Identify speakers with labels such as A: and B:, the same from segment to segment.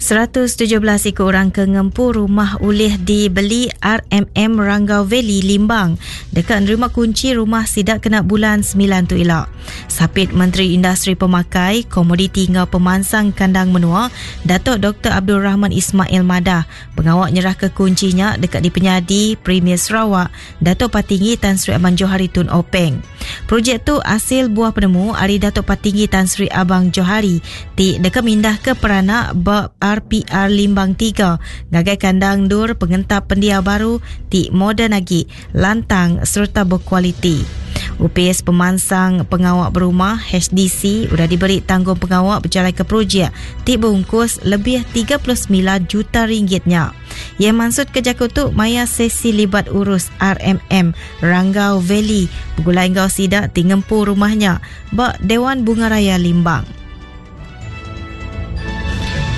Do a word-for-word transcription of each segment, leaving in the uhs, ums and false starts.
A: seratus tujuh belas iku orang ke ngempu rumah ulih dibeli R M M Ranggau Valley Limbang dekat nerima kunci rumah sidak kena bulan sembilan tu ila. Sapit Menteri Industri Pemakai, Komoditi ngau Pemansang Kandang Menua, Datuk Doktor Abdul Rahman Ismail Madah, pengawak nyerah ke kuncinya dekat di Penyadi Premier Sarawak, Datuk Patinggi Tan Sri Abang Johari Tun Openg. Projek tu hasil buah penemu ari Datuk Patinggi Tan Sri Abang Johari ti dekat mindah ke peranak ba R P R Limbang tiga ngagai kandang dur pengentap pendiau baru ti moden lagi, lantang serta berkualiti. U P S Pemansang Pengawak Berumah H D C sudah diberi tanggung pengawak berjalan ke projek ti bungkus lebih tiga puluh sembilan juta ringgitnya. Ia maksud ke jakut tu maya sesi libat urus R M M Ranggau Valley bergulai ngau sidak ti ngempu rumahnya ba Dewan Bunga Raya Limbang.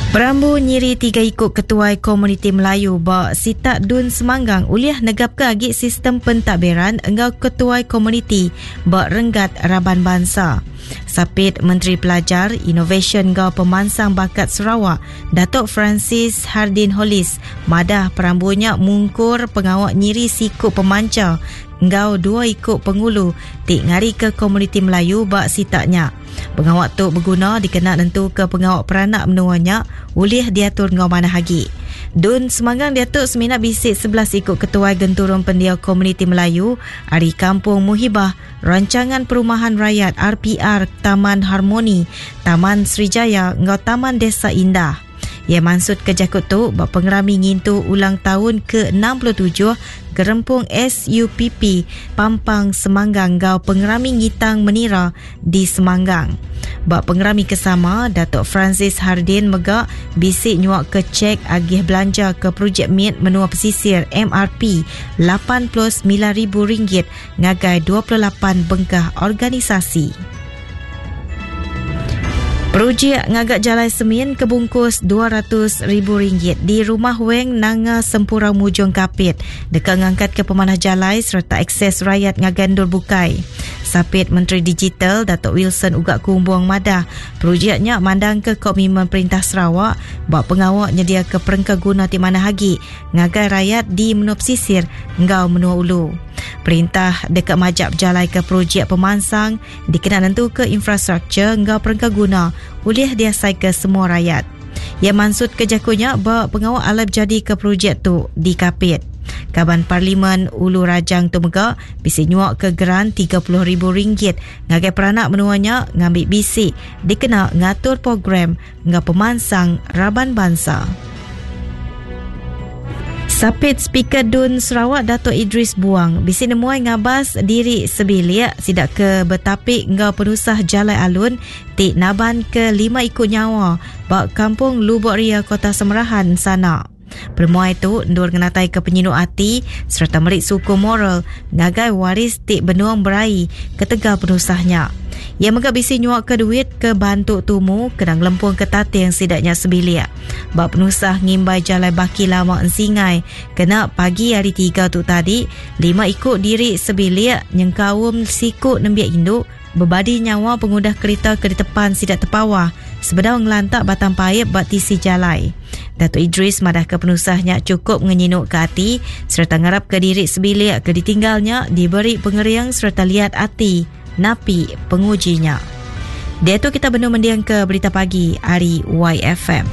A: Perambu nyiri tiga ikut ketuai komuniti Melayu ba Sitak Dun Semanggang uliah negap ke agi sistem pentadbiran engau ketuai komuniti ba Renggat Raban Bangsa. Sapit Menteri Pelajar, Inovasi ngau Pemansang Bakat Sarawak, Datuk Francis Hardin Hollis, madah perambunya mungkur pengawak nyiri siku pemanca ngau dua ikut pengulu ti ngari ke komuniti Melayu ba sitaknya. Pengawak tu berguna dikena nentu ke pengawak peranak menuanya ulih diatur ngau manah agi. Dun Semanggang diatur semina bisik sebelas ikut ketua genturung pendiau komuniti Melayu ari Kampung Muhibah, Rancangan Perumahan Rakyat R P R Taman Harmoni, Taman Srijaya ngau Taman Desa Indah. Ia maksud ke jakut tu bak pengerami ngintu ulang tahun ke enam puluh tujuh Gerempung S U P P Pampang Semanggang gau pengerami ngitang menira di Semanggang. Bak pengerami kesama, Datuk Francis Hardin megak bisik nyuak ke cek agih belanja ke projek miet menua pesisir M R P lapan puluh sembilan ribu ringgit ngagai dua puluh lapan bengkah organisasi. Projek ngagak jalai semin kebungkus dua ratus ribu ringgit di Rumah Weng Nanga Sempurau Mujung Kapit dekat ngangkat ke pemanah jalai serta akses rakyat ngagandur bukai. Sapit Menteri Digital Datuk Wilson Ugak Kumbong madah projeknya mandang ke komitmen Perintah Sarawak buat pengawak nyedia ke perengka guna ti mana hagi ngagai rakyat di menua pesisir ngau menua ulu. Perintah dekat majak berjalai ke projek pemansang dikena nentu ke infrastruktur ngau perengka guna ulih diasai ke semua rakyat. Ia maksud kejakunya ba pengawak alap jadi ke projek tu di Kapit. Kaban Parlimen Ulu Rajang tu mega bisi nyuak ke geran tiga puluh ribu ringgit ngagai peranak menuanya ngambil bisi dikena ngatur program ngau pemansang raban bangsa. Sapit Speaker Dun Sarawak Datuk Idris Buang bisi nemuai ngabas diri sebilik sidak ke betapik ngau penusah jalai alun ti naban ke lima ikut nyawa bak Kampung Lubok Ria Kota Semerahan sana. Permuai tu ndur ngenatai ke penyinu ati serta merik suku moral ngagai waris ti benuang berai ketegal penusahnya. Ia mega bisi nyuak ke duit ke bantu tumu kenang lempung ke tating sidaknya sebilik. Bak penusah ngimbai jalai baki lama ensingai kena pagi hari tiga tu tadi lima ikut diri sebilik nyengkaum sikut nembiak induk berbadi nyawa pengudah kereta ke depan sidak tepawah sebedau ngelantak batang paip bak tisi jalai. Datuk Idris madah ke penusahnya cukup ngenyinuk ke hati serta ngarap ke diri sebilik ke ditinggalnya diberi pengeriang serta liat hati napi pengujinya. Dia tu kita benar mendiang ke berita pagi hari Y F M.